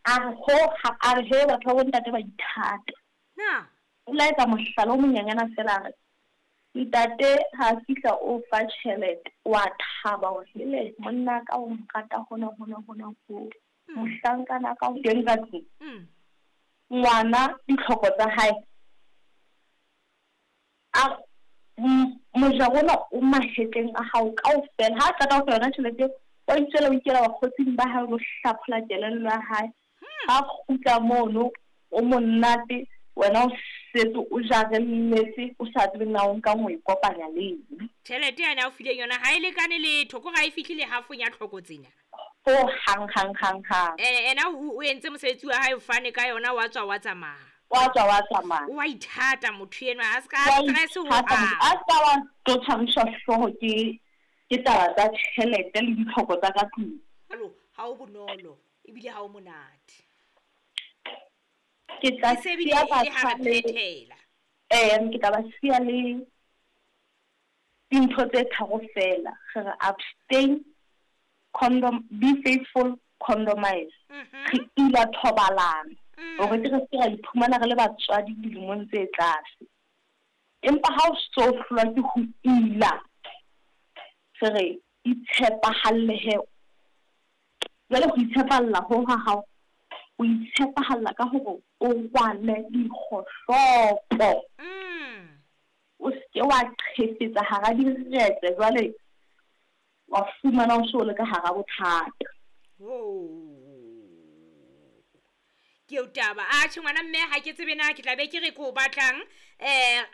A re ho a re he batho ba bontate ba ithata. Na. O la etsa mohlala o monyanyana fela a re, Ntate ha a fihla o fa tjhelete, wa thaba hore hele monna ka o nrata hona hona hona ho. Mohlankana ka o teng ka tlung. Ngwana ditlhoko tsa hae a re, Mojaro ona o mahetleng a hao kaofela. Ha a qeta ho fa yona tjhelete eo, wa itswela o ikela bakgotsing ba hae o lo hlaphola kelello ya hae. Ha a kgutla mono, o monate, wena o setse o jarelletse, o sa tsebe na o nkang o e kopanya le eng. Tjhelete yane a o fileng yona ha e lekane letho, kore ha e fihle le hafong ya tlhoko tsena. Ho hang, hang, hang, hang. Ena o entse mosebetsi wa hae, o fane ka yona, wa tswa wa tsamaya. Wa tswa wa tsamaya. O a ithata motho enwa, a ska stress ho hang. A ska wa tlo tshwariswa hlooho ke ke taba tsa tjhelete le ditlhoko tsa ka tlung. Ha o bonolo ebile ha o monate. Ke tla E se ebile siya e le ha batjha re le phethela. eh ke tla ba siya le dintho tse tharo fela. Re re abstain, condom, be faithful, condomise. Re ila thobalano hore ke re se ra iphumana re le batswadi dilemong tse tlase. Empa ha o so hlolwa ke ho ila, re re itshepahalle he. Jwale ho itshepahalla ho ha hao, o itshepahalla ka hore o rwale dikgohlopo. O se ke wa qhefetsa hara diretse jwale wa fumana o so le ka hara bothata. Ke eo taba. Atjhe ngwana mme ha ke tsebe na ke tla be ke re ko batlang.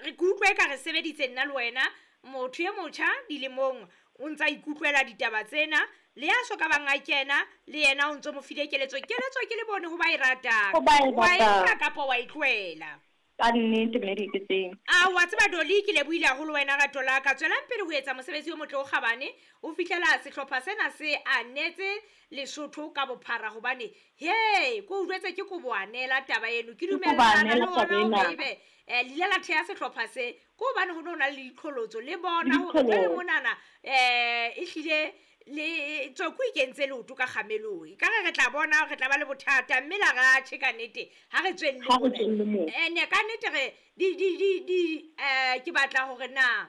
Re ke utlwe ka re sebeditse nna le wena. Motho e motjha dilemong o ntsa ikutlwela ditaba tsena, le ya so ka bang a kena le yena o ntso mo file keletso. Keletso ke le bone ho ba e ratang. Ho ba e Wa e ratang. nka kapa wa e tlohela. Ka nnete mme di ke tseng. A wa tseba Dolly, ke lebohile haholo wena rato la ka. Tswelang pele ho etsa mosebetsi o motle o kgabane o fihlela sehlopha sena se anetse Lesotho ka bophara, hobane he ko utlwetse ke koboanela taba eno. Ke Ke dumellana le koboanela taba ona hore ena. ebe le ile la theha sehlopha se ko hobane ho no na le diqholotso le bona hore jwale Diqholotso. monana ehlile le Tsoko e kentse leoto ka kgamelong. Ekare re tla bona re tla ba le bothata mme la ra tjhe ka nnete ha re tswelle Ha re mona. tswelle moo. Ene ka nnete re di di di di ke batla hore na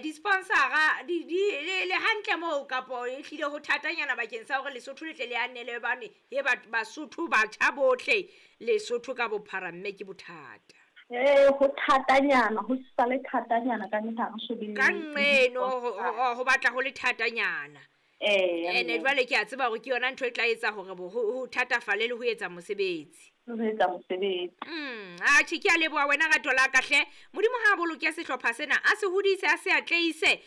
di-sponsora di di le hantle moo kapo ehlile ho thatanyana bakeng sa hore Lesotho le tle le anele bane he Basotho batjha bohle Lesotho ka bophara mme ke bothata. Ho thatanyana, ho sale thatanyana ka nnete ha re so be Ka le nqeno di-sponsor. ho batla ho le thatanyana. Ene Mme. jwale ke a tseba hore ke yona ntho e tla etsa hore ho thatafale le ho etsa mosebetsi. Le ho etsa mosebetsi. Atjhe ke a leboha wena rato la ka hle. Modimo ha a boloke sehlopha sena, a se hodise, a se atleise.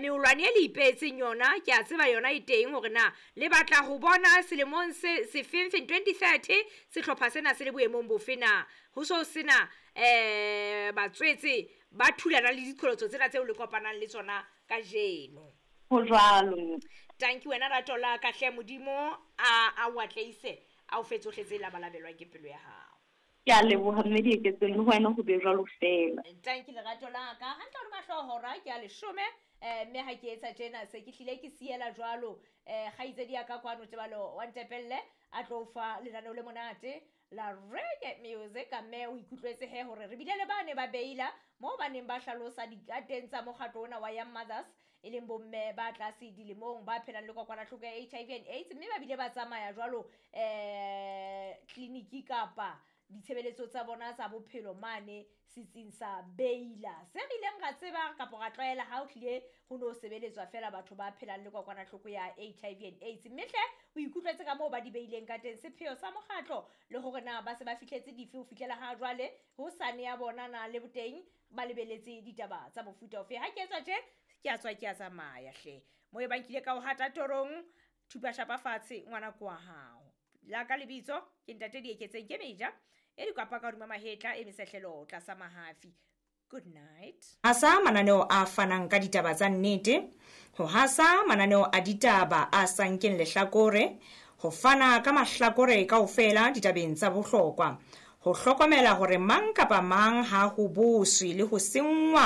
Meolwane e le ipeetseng yona, ke a tseba yona e teng hore na le batla ho bona selemong se sefeng feng 2030 sehlopha sena se le boemong bofe na. Ho so sena batswetse ba thulana le diqholotso tsena tseo le kopanang le tsona kajeno. Ho jwalo. Tanki wena rato la ka hle, Modimo a o atleise, a o fe tsohle tse labalabelwang ke pelo ya hao. Ke a leboha mme Dieketseng, le wena ho be jwalo fela. Tanki lerato la ka, hantle hodima hlooho hora ke a leshome, mme ha ke etsa tjena se ke hlile ke siela jwalo, kgaitsedi ya ka kwano Tebalo wa Ntepelle a tlo o fa lenaneo le monate la reggae music. Mme o ikutlwetse he hore re bile le bane ba beila moo ba neng ba hlalosa dikateng tsa mokgatlo ona wa Young Mothers, e leng bomme ba tlase dilemong ba phelang le kokwanahloko ya HIV and AIDS, mme ba bile ba tsamaya jwalo tleliniki kapa ditshebeletso tsa bona tsa bophelo mane setsing sa Beila. Se re ileng ra tseba kapa ra tlwaela ha o tlile ho no sebeletswa fela batho ba phelang le kokwanahloko ya HIV and AIDS. Mme hle o ikutlwetse ka moo ba di beileng ka teng, sepheo sa mokgatlo le hore na ba se ba fihletse dife ho fihlela ha jwale, ho sane ya bona na le boteng ba lebeletse ditaba tsa mofuta ofe. Ha ke etswa tje, ke a tswa ke a tsamaya hle. Moo e bang ke ile ka o hata torong, thupa shapa fatshe ngwana ke wa hao. La ka lebitso ke ntate Dieketseng ke meja e dikwapa ka hodima mahetla e mesehlelo tlasa mahafi. Good night. Hasa mananeo a fanang ka ditaba tsa nnete, ho hasa mananeo a ditaba a sa nkeng lehlakore, ho fana ka mahlakore kaofela ditabeng tsa bohlokwa, ho hlokomela hore mang kapa mang ha ho boswe le ho senngwa.